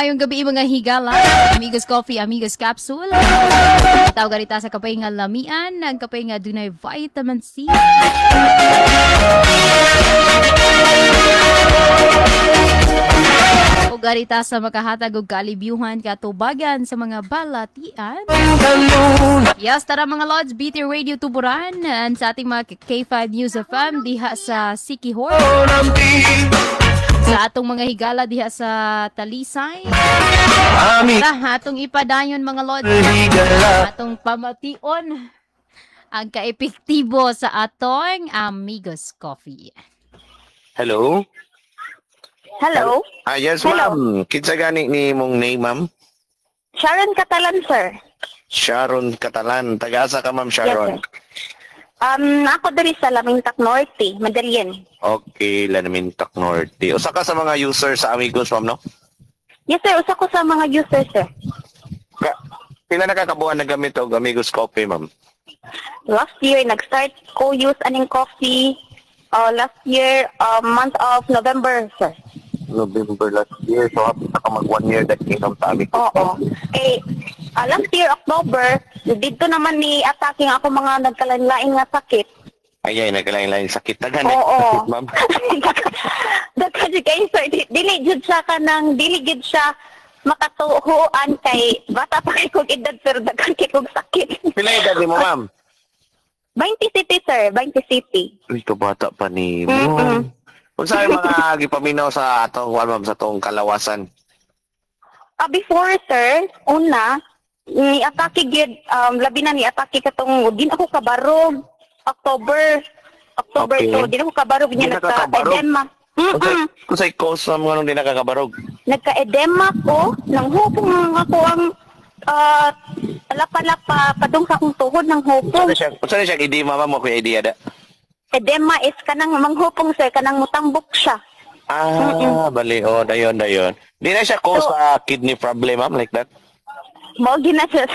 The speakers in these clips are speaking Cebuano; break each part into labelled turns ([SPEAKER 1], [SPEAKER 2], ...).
[SPEAKER 1] Maayong gabii, mga higala, Amigos Coffee, Amigos Capsule. Tawag ganita sa kape nga lamian, ang kape nga dunay vitamin C. O garita sa makahatag og kaalibyuhan katubagan sa mga balatian. Yes, tara mga Lods, BT Radio Tuburan and sa ating mga K5 News FM diha sa Sikihor. Sa atong mga higala diha sa Talisay. Tara, atong ipadayon, mga Lods. Atong pamation ang kaepektibo sa atong Amigos Coffee.
[SPEAKER 2] Hello?
[SPEAKER 3] Hello?
[SPEAKER 2] Ah, yes,
[SPEAKER 3] Hello.
[SPEAKER 2] Ma'am. Kinsa gani ni mong name, ma'am?
[SPEAKER 3] Sharon Catalan, sir.
[SPEAKER 2] Sharon Catalan. Taga-asa ka, ma'am Sharon?
[SPEAKER 3] Yes, sir. Ako diri sa Lamintak Norte, Madalien.
[SPEAKER 2] Okay, Lamintak Norte. Usa ka sa mga user sa Amigos, ma'am, no?
[SPEAKER 3] Yes, sir. Usa ko sa mga users, sir.
[SPEAKER 2] Pila na kakabuan na gamit og Amigos Coffee, ma'am?
[SPEAKER 3] Last year, nag-start ko use aning coffee. Last year, month of November, sir.
[SPEAKER 2] November last year. So, hapit na ka mag one year that inom sa Amigos
[SPEAKER 3] Oo.
[SPEAKER 2] Coffee.
[SPEAKER 3] Eh, last year, October, dito naman ni attacking ako mga nagkalain-lain nga sakit.
[SPEAKER 2] Ay, ay, nagkalain-lain sakit. Taga na
[SPEAKER 3] Oo.
[SPEAKER 2] sakit, ma'am.
[SPEAKER 3] Daghan jud kayo, sir. Dili jud siya kanang dili jud siya makatuhuan kay bata pa kay kog edad pero daghan kay kog sakit.
[SPEAKER 2] Pila edad ni mo, ma'am?
[SPEAKER 3] 20 City, sir, 20 City.
[SPEAKER 2] Uy, kabata pa ni mo. Kung saan mga gipaminaw sa atong, kuwan, ma'am, sa atong kalawasan?
[SPEAKER 3] Ah, before, sir, una ni atake gyud labi na ni atake katong di na ako kabarog October October to di na ako kabarog
[SPEAKER 2] Di
[SPEAKER 3] niya
[SPEAKER 2] na ka kabarog?
[SPEAKER 3] Nagka-edema.
[SPEAKER 2] Kung sa'y cause, ma'am, nganong di nakakabarog?
[SPEAKER 3] Nagka-edema ko, nang hupong ako ang lapa-lapa padung sa akong tuhod ng hupong.
[SPEAKER 2] Unsa na siya edema, ma'am, mo kuya idea da?
[SPEAKER 3] Edema is kanang manghupong, sir, kanang mutambok siya.
[SPEAKER 2] Ah, bali, oh, dayon, dayon. Di na siya cause sa kidney problem, ma'am, like that?
[SPEAKER 3] Mao gina siya.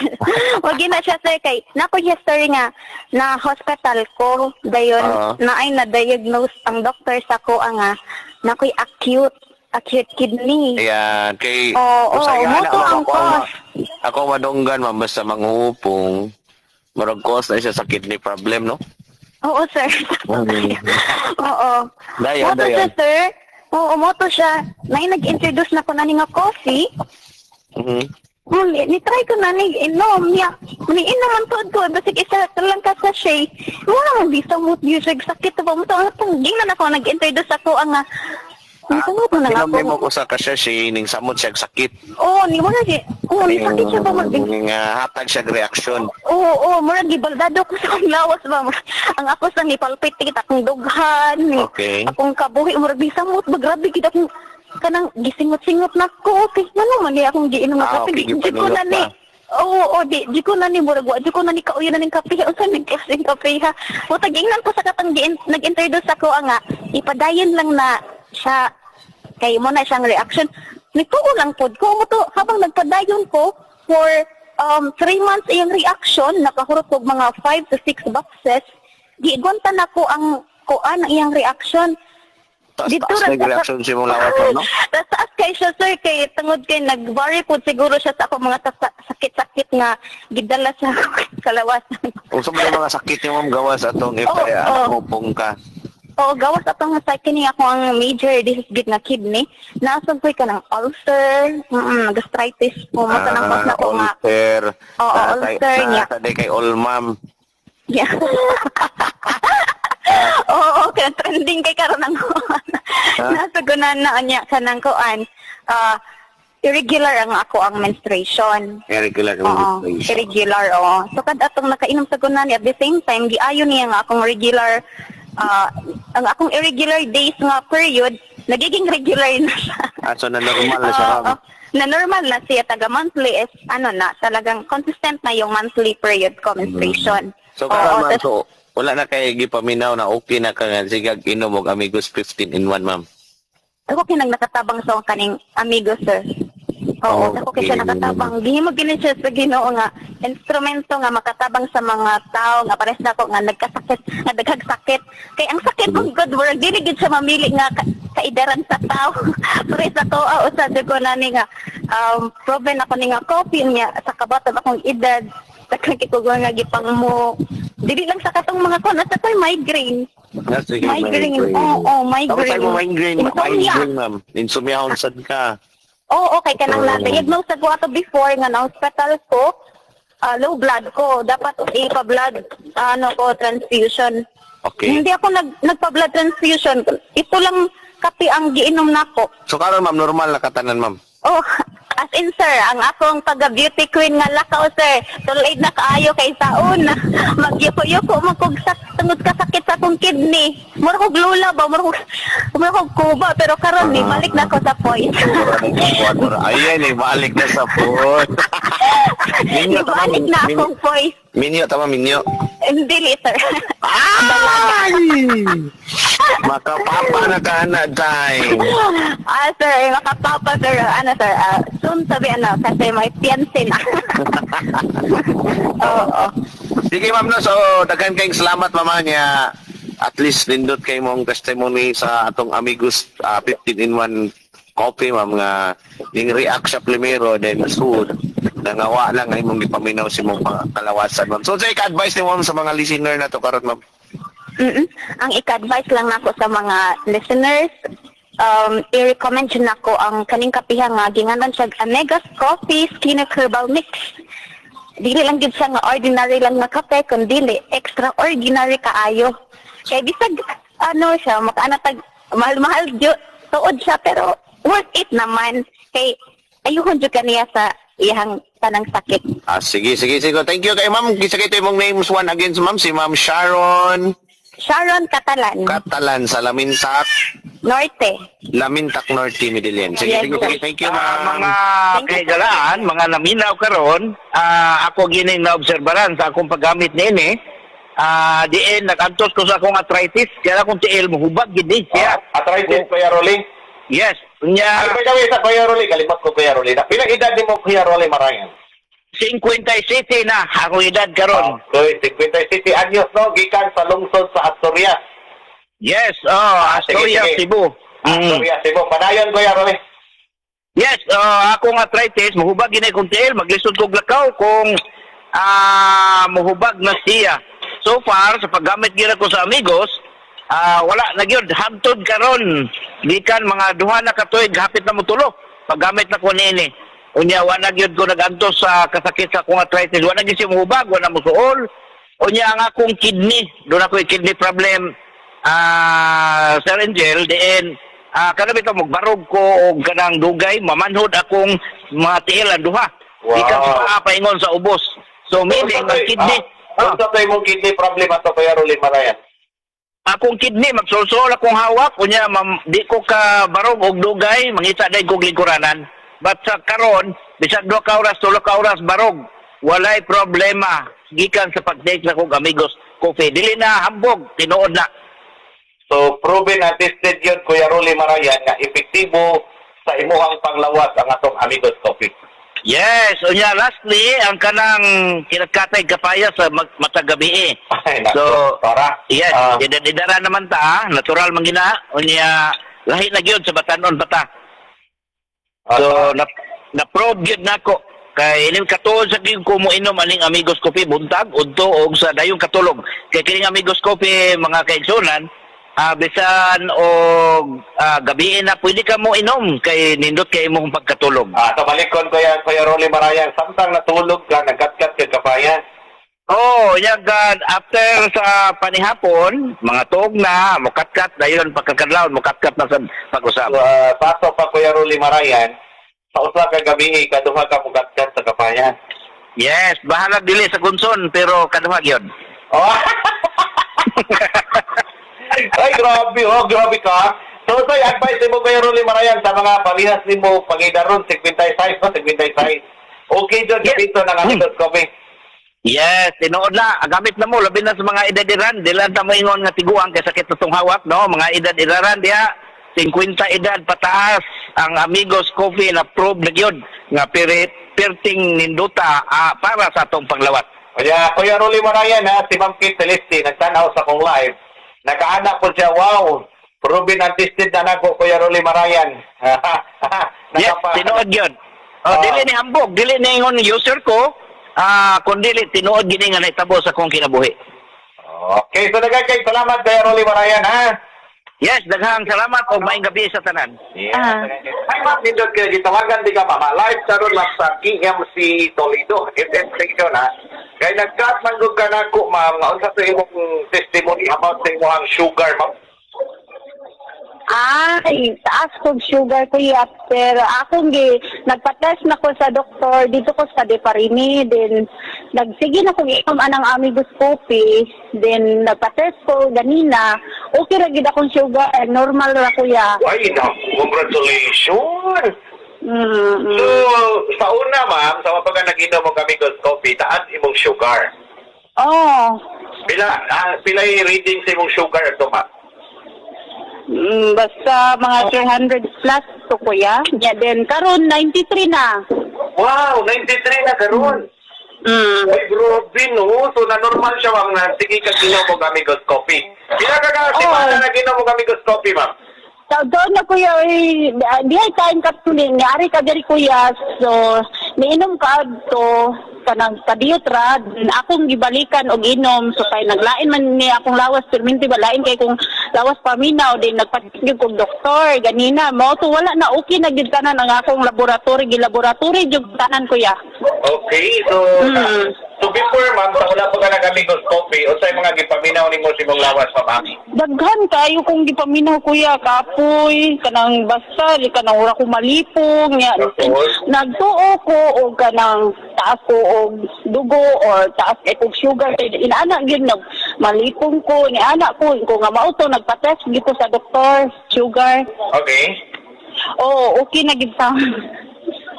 [SPEAKER 3] Mao gina siya, sir, kay nako history nga na hospital ko dayon na ay na-diagnose ang doctor sa ko ang nakoy acute acute kidney.
[SPEAKER 2] Ayan, kay
[SPEAKER 3] Oo,
[SPEAKER 2] kung sa'y
[SPEAKER 3] oo,
[SPEAKER 2] ana,
[SPEAKER 3] mo to
[SPEAKER 2] ma'am,
[SPEAKER 3] ang cause.
[SPEAKER 2] Ako madunggan, ma'am, basta manghupong, murag cause na siya sa kidney problem, no?
[SPEAKER 3] Oo, sir. Oo.
[SPEAKER 2] Dayon,
[SPEAKER 3] Mo to siya,
[SPEAKER 2] dayon.
[SPEAKER 3] sir. Oo, mo to siya. Na nag-introduce na ko na ni nga coffee. Ni try ko na ni inom niya. Ni inom man tuod ko basig isa ka lang ka sachet. Wala man di samot gyud siya sakit ba mo to ang gingnan ako nag-introduce ako ang ni samot na nga
[SPEAKER 2] Inom
[SPEAKER 3] ako.
[SPEAKER 2] mo ko sa kasya ning samot siya sakit.
[SPEAKER 3] Oo, ni wala si. Oo, ni sakit siya ba mag
[SPEAKER 2] Ning hatag siya reaksyon.
[SPEAKER 3] Oo, oo, murag gibaldado ko sa akong lawas ba. Ang ako sa nipalpit kita akong dughan, ni akong kabuhi murag di samot ba, grabe gid akong kanang gisingot-singot na ko. Okay, ngano man ni akong giinom nga kape? Di ko na
[SPEAKER 2] gipaningot
[SPEAKER 3] ni.
[SPEAKER 2] pa.
[SPEAKER 3] Oo, oo, di ko na ni murag wa, di ko na ni kauyo na ning kape. Unsa ning klaseng kape ha? Mutag ingnan ko sa katang nag-introduce ako ang nga ipadayon lang na siya kay mo na siyang reaction. Nagtuo lang pod ko mo to habang nagpadayon ko for 3 months iyang reaction, nakahurot og mga 5 to 6 boxes. Gigonta na ko ang kuan ang iyang reaction.
[SPEAKER 2] Taas,
[SPEAKER 3] Dito
[SPEAKER 2] taas
[SPEAKER 3] ra
[SPEAKER 2] na reaction si mong lawas, ma'am, no?
[SPEAKER 3] Taas taas kay siya, sir, kay tungod kay nag-vary po siguro siya sa ako mga sakit-sakit nga gidala sa kalawasan.
[SPEAKER 2] Unsa man yung mga sakit ni ma'am gawas atong if
[SPEAKER 3] Oo, oo.
[SPEAKER 2] hupong ka?
[SPEAKER 3] Oo, gawas atong sa kini ako ang major disease gid nga kidney. Naasog ko'y kanang ulcer, gastritis po mo tanang pas na ko nga.
[SPEAKER 2] Ulcer.
[SPEAKER 3] Oo, ulcer niya.
[SPEAKER 2] Nasa day kay all, ma'am.
[SPEAKER 3] Yeah. Oo, kaya trending kay karon ang kuan. Nasa gunan na niya kanang kuan. Ah, irregular ang ako ang menstruation.
[SPEAKER 2] Irregular
[SPEAKER 3] Oo,
[SPEAKER 2] menstruation.
[SPEAKER 3] irregular, oo. So kad atong nakainom sa gunan at the same time giayon niya nga akong regular ang akong irregular days nga period nagiging regular na siya.
[SPEAKER 2] Ah, so na normal na siya,
[SPEAKER 3] Oo,
[SPEAKER 2] ma'am.
[SPEAKER 3] na normal na siya taga monthly is ano na talagang consistent na yung monthly period ko menstruation.
[SPEAKER 2] So
[SPEAKER 3] Oo,
[SPEAKER 2] karon, ma'am,
[SPEAKER 3] tas-
[SPEAKER 2] so wala na kay gipaminaw na okay na ka nga sigag inom og Amigos 15 in 1, ma'am.
[SPEAKER 3] Ako kinang nakatabang sa akong kaning amigo, sir. Oo, ako kay siya nakatabang. Gihimo gini siya sa Ginoo nga instrumento nga makatabang sa mga tao nga pares nako nga nagkasakit, nga daghag sakit. Kay ang sakit mong good work dili gid siya mamili nga Kaidaran sa tao. Pero sa to usa jud ko na ni nga proven ako ni nga coffee niya sa kabaton akong edad daghan kay ko nga gipang mo dili lang sa katong mga kon sa ko'y migraine.
[SPEAKER 2] Ah, sige,
[SPEAKER 3] Migraine. Oo,
[SPEAKER 2] Tapos
[SPEAKER 3] migraine.
[SPEAKER 2] tayo mo migraine,
[SPEAKER 3] Insomnia.
[SPEAKER 2] Migraine, ma'am. Insomnia sad ka.
[SPEAKER 3] Oo, okay ka nang
[SPEAKER 2] Oo.
[SPEAKER 3] na-diagnose sa ko ato before nga na hospital ko, low blood ko. Dapat ipa-blood ano ko transfusion. Hindi ako nagpa-blood transfusion. Ito lang kape ang giinom nako.
[SPEAKER 2] So karon, ma'am, normal na katanan, ma'am.
[SPEAKER 3] Oh, as in, sir, ang akong pagka-beauty queen nga lakaw, sir. Tuloy na kaayo kay saon. Magyuko-yuko man kog tungod kasakit sa akong kidney. Mura kog lula ba, mura kog kuba, pero karon ni balik na ko sa point.
[SPEAKER 2] Ayan eh, balik na sa point. Minyo, tama,
[SPEAKER 3] Ibalik na akong voice.
[SPEAKER 2] Minyo, tama, minyo.
[SPEAKER 3] Hindi, sir.
[SPEAKER 2] Ay! Makapapa na ka na, time.
[SPEAKER 3] Ah, sir, makapapa, sir. Ano, sir, soon sabi, ano, kasi may fiancé na. Oo.
[SPEAKER 2] Sige, ma'am, no. So, daghan kayong salamat, mama niya. At least, nindot kay mong testimony sa atong Amigos 15 in 1 coffee, ma'am, nga ning react sa primero, then soon, nangawa lang ay mong gipaminaw si mong kalawasan, ma'am. So, sa ika-advice ni ma'am sa mga listener na to karon, ma'am?
[SPEAKER 3] Ang ika-advise lang nako sa mga listeners, i-recommend jud nako ang kaning kapiha nga ginganan siya Amegas Coffee Skin Herbal Mix. Dili lang gid siya nga ordinary lang nga kape, kundi extraordinary kaayo. Kay bisag ano siya, makaana tag mahal-mahal jud tuod siya, pero worth it naman kay ayuhon jud kaniya sa iyang tanang sakit.
[SPEAKER 2] Ah, sige, sige, sige. Thank you kay ma'am. Kisa kay imong names one again, ma'am. Si Ma'am Sharon
[SPEAKER 3] Sharon Catalan.
[SPEAKER 2] Catalan sa Lamintak.
[SPEAKER 3] Norte.
[SPEAKER 2] Lamintak Norte, Medellin. Sige,
[SPEAKER 3] Yes,
[SPEAKER 2] sige,
[SPEAKER 3] sir.
[SPEAKER 2] sige. Thank you, ma'am.
[SPEAKER 4] Mga
[SPEAKER 3] Thank you, sir.
[SPEAKER 4] kahigalaan, mga naminaw karon, ako gining naobserbaran sa akong paggamit niini. Diin nagantos ko sa akong arthritis, kaya akong tiil mohubag gid ni siya.
[SPEAKER 5] Ah, arthritis, Kuya Rolly?
[SPEAKER 4] Yes, unya.
[SPEAKER 5] Ay, by the way, sa Kuya Rolly, kalimot ko, Kuya Rolly. Na, pila edad nimo, Kuya Rolly Marayan?
[SPEAKER 4] 57 na akong edad karon.
[SPEAKER 5] Okay, 57 anyos, no? Gikan sa lungsod sa Asturias.
[SPEAKER 4] Yes, oh,
[SPEAKER 5] Sige,
[SPEAKER 4] Asturias,
[SPEAKER 5] sige.
[SPEAKER 4] Cebu.
[SPEAKER 5] Asturias, Cebu. Padayon, Kuya Rolly.
[SPEAKER 4] Yes, akong arthritis, mohubag gini kong tiil, maglisod kog lakaw kung mohubag na siya. So far, sa paggamit gira ko sa Amigos, wala na gyud hangtod karon. Gikan mga 2 na ka tuig, hapit na motulo. Paggamit na ko niini. Unya wa na gyud ko nagantos sa kasakit sa akong arthritis. Wa na gyud siya mohubag, wa na mosuol. Unya ang akong kidney, doon ako kidney problem. Sir Angel, diin kana bitaw magbarog ko og kanang dugay, mamanhod akong mga tiil ang duha. Gikan sa paa paingon sa ubos. So meaning ang kidney,
[SPEAKER 5] Unsa to imong kidney problem ato, Kuya Rolly Marayan?
[SPEAKER 4] Akong kidney magsulsul akong hawak, unya mam, di ko ka barog og dugay, mangita day kog lingkuranan. But sa karon, bisag 2 ka oras, 3 ka oras barog, walay problema gikan sa pag-take na kog Amigos Coffee. Dili na hambog, tinuod na.
[SPEAKER 5] So, proven and tested yun, Kuya Rolly Marayan, nga epektibo sa imuhang panglawas ang atong Amigos Coffee.
[SPEAKER 4] Yes, unya lastly, ang kanang kinakatay kapaya sa matag gabi eh.
[SPEAKER 5] Ay, nako,
[SPEAKER 4] So,
[SPEAKER 5] tara.
[SPEAKER 4] yes, idara naman ta, natural man gina, unya lahi na gyud sa batanon pa ta. So, na-probe gyud nako kay ining katuod sa gyud ko mo inom aning Amigos Coffee buntag udto og sa dayong katulog. Kay kining Amigos Coffee, mga kaigsunan, bisan og gabi na pwede ka mo inom kay nindot kay imong pagkatulog.
[SPEAKER 5] So balikon, Kuya Rolly Marayan, samtang natulog ka, nagkatkat ka kapaya.
[SPEAKER 4] Oh, yan after sa panihapon, mga tuog na, mukatkat dayon pagkakadlawon, mukatkat na sa pag-usap.
[SPEAKER 5] So, paso pa, Kuya Rolly Marayan, sa usa ka gabi, kaduha ka mukatkat sa kapayan.
[SPEAKER 4] Yes, bahalag dili sa gunson pero kaduha gyud.
[SPEAKER 5] Oh. Ay, grabe, oh, grabe ka. So, advice nimo, Kuya Rolly Marayan, sa mga parehas nimo pangidaron, 56, no? 56. Okay, John, dito ng Amigos Coffee.
[SPEAKER 4] Yes, tinuod na. Gamit na mo, labi na sa mga edad-iran. Dili ta moingon nga tiguang kay sakit na tong hawak, no? Mga edad-idaran diha, 50 edad pataas ang Amigos Coffee na prove na gyud nga perting ninduta para sa atong panglawas.
[SPEAKER 5] Kaya, Kuya Rolly Marayan, ha, si Ma'am Kate Celeste, nagtanaw sa kong live. Nakaana po siya, wow, Proven and tested na nako, Kuya Rolly Marayan.
[SPEAKER 4] Yes, tinuod yun. Oh, dili ni hambog, dili ni ingon user ko, kun dili tinuod gini nga nahitabo sa akong kinabuhi.
[SPEAKER 5] Okay, so daghang kay salamat, Kuya Rolly Marayan, ha?
[SPEAKER 4] Yes, daghang salamat og maayong gabi sa tanan.
[SPEAKER 5] Yeah.
[SPEAKER 3] Ah.
[SPEAKER 5] Hi, ma'am, nindot kayo gitawagan di ka, mama. Live sa ron ma'am, sa KMC Toledo, FM station, ha? Kay nag-cut man gud ka nako, ma'am, nga unsa to imong testimony about sa imong sugar, ma'am?
[SPEAKER 3] Ay, taas kog sugar kuya, pero akong gi nagpa-test na ko sa doktor dito ko sa Deparini, then nagsige na kong inom anang Amigos Coffee, then nagpa-test ko ganina, okay ra gid akong sugar, normal ra kuya.
[SPEAKER 5] Ay, na, congratulations! So, sa una, ma'am, sa mapag nag-inom mo Amigos Coffee, taas imong sugar.
[SPEAKER 3] Oh.
[SPEAKER 5] Pila yung reading sa imong sugar ito, ma'am?
[SPEAKER 3] Basta mga 300 plus to kuya. Yeah, then karon 93 na.
[SPEAKER 5] Wow, 93 na karon. Ay, grabe, no? So, na-normal siya, ma'am, na sige ka ginom mo Amigos Coffee. Pila ka ka,
[SPEAKER 3] Oo.
[SPEAKER 5] semana na ginom mo Amigos Coffee, ma'am?
[SPEAKER 3] So, doon na kuya, eh, di ay kain ka tuloy, ni ari ka diri kuya, so niinom ka to kanang kadiyot ra, akong gibalikan og inom, so kay naglain man ni akong lawas, perminti ba lain kay kung lawas paminaw, din nagpatigil kog doktor, ganina, mao to wala na okay na gid tanan ang akong laboratory, gilaboratory jud tanan kuya.
[SPEAKER 5] Okay, so, so before, ma'am, sa wala pa ka nag-Amigos Coffee, unsay mga gipaminaw nimo sa imong lawas, ma'am, Ami?
[SPEAKER 3] Daghan kayo kong gipaminaw kuya, kapoy, kanang basta, di kanang ura ko malipong, nya.
[SPEAKER 5] Tapos?
[SPEAKER 3] Nagtuo ko og kanang taas ko og dugo or taas kay kog sugar kay inaana gyud nag malipong ko ni ana ko ko nga mao to nagpa-test gyud ko sa doktor sugar.
[SPEAKER 5] Okay.
[SPEAKER 3] Oh, okay na gid sa.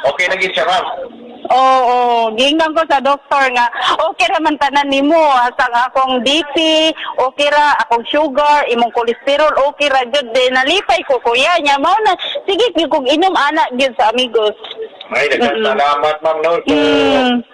[SPEAKER 5] Okay na gid siya, ma'am.
[SPEAKER 3] Oo, giingnan ko sa doktor nga okay ra man tanan nimo hasta nga akong BP, okay ra akong sugar, imong cholesterol okay ra jud, de nalipay ko kuya nya mao na sige gyud kog inom ana gyud sa Amigos.
[SPEAKER 5] Ay, daghang salamat, ma'am, no? So,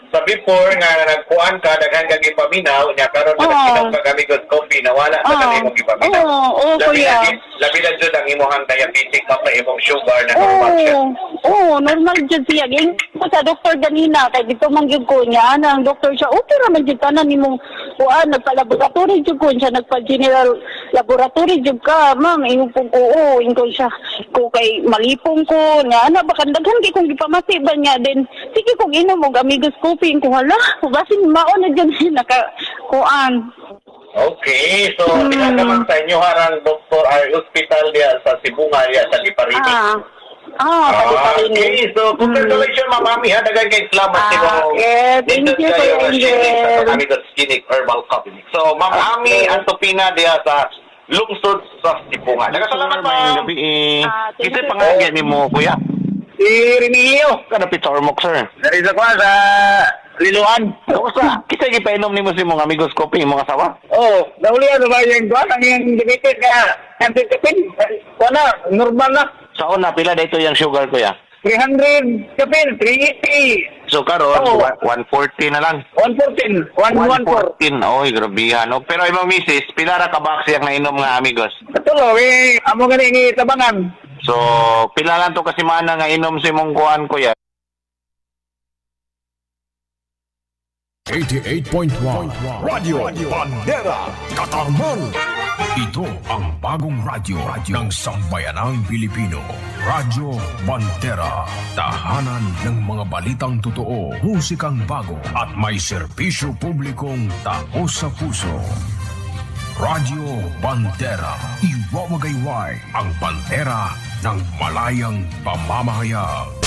[SPEAKER 5] sa before nga nagkuan ka, daghan ka gipaminaw, nya karon nga nag-inom ka Amigos Coffee, nawala na ka imong gipaminaw.
[SPEAKER 3] Oo, oo,
[SPEAKER 5] Labi
[SPEAKER 3] kuya.
[SPEAKER 5] na labi na jud ang imong diabetic, ma'am, na imong sugar na normal siya.
[SPEAKER 3] Oo, normal jud siya. Giingnan ko sa doktor ganina kay dito man gyud ko niya ana ang doktor siya okay ra man jud tanan nimong kuan, nagpa-laboratory jud ko siya, nagpa-general laboratory jud ka ma'am, ingon po ko, oo, ingon siya ko kay malipong ko nga ana baka daghan kay kong gipamati ba niya, then sige kong inom og Amigos Coffee ko, hala basin mao na jud naka kuan.
[SPEAKER 5] Okay, so mm. sa inyo harang doktor ay hospital diya sa Sibunga diya sa Liparini.
[SPEAKER 3] Liparini.
[SPEAKER 5] Okay, so congratulations, Ma'am Ami, ha, daghan kay salamat nimo.
[SPEAKER 3] Yeah, thank
[SPEAKER 5] Nindot
[SPEAKER 3] you,
[SPEAKER 5] kayo
[SPEAKER 3] Kuya
[SPEAKER 5] nga sharing sa
[SPEAKER 3] Angel.
[SPEAKER 5] Amigos Clinic Herbal Coffee. So, Ma'am Ami Antopina diya sa lungsod sa Sibunga. Daghang salamat,
[SPEAKER 2] Maayong
[SPEAKER 5] ma'am.
[SPEAKER 2] gabi eh.
[SPEAKER 3] Ah, thank
[SPEAKER 2] Kasi
[SPEAKER 3] you.
[SPEAKER 2] pangalan ni mo, kuya.
[SPEAKER 4] Si Remigio.
[SPEAKER 2] Kanapit sa Ormoc, sir.
[SPEAKER 4] Dari sa kuan sa Liloan.
[SPEAKER 2] Kamusta? Kita gipainom nimo si mong Amigos Coffee, imong asawa?
[SPEAKER 4] Oh, nahuli ano ba yung kuan ang iyang diabetes nga antitipin. Kuan na, normal na.
[SPEAKER 2] Sa una, pila dito yung sugar, kuya?
[SPEAKER 4] 300 kapin, 380,
[SPEAKER 2] So karon,
[SPEAKER 4] Oo.
[SPEAKER 2] 140 na lang.
[SPEAKER 4] 114, 114.
[SPEAKER 2] 114. Oy, grabihan. No? Pero imong misis, pila ra ka box yang nainom nga Amigos?
[SPEAKER 4] Katulo, eh, amo gani ngi tabangan.
[SPEAKER 2] So, pila lang to kasi mana nga inom si imong kuan, kuya?
[SPEAKER 6] 88.1 Radyo Bandera Katarman. Ito ang bagong radyo ng sambayanang Pilipino. Radyo Bandera. Tahanan ng mga balitang totoo, musikang bago at may serbisyo publikong tao sa puso. Radyo Bandera. Iwawagayway ang bandera ng malayang pamamahayag.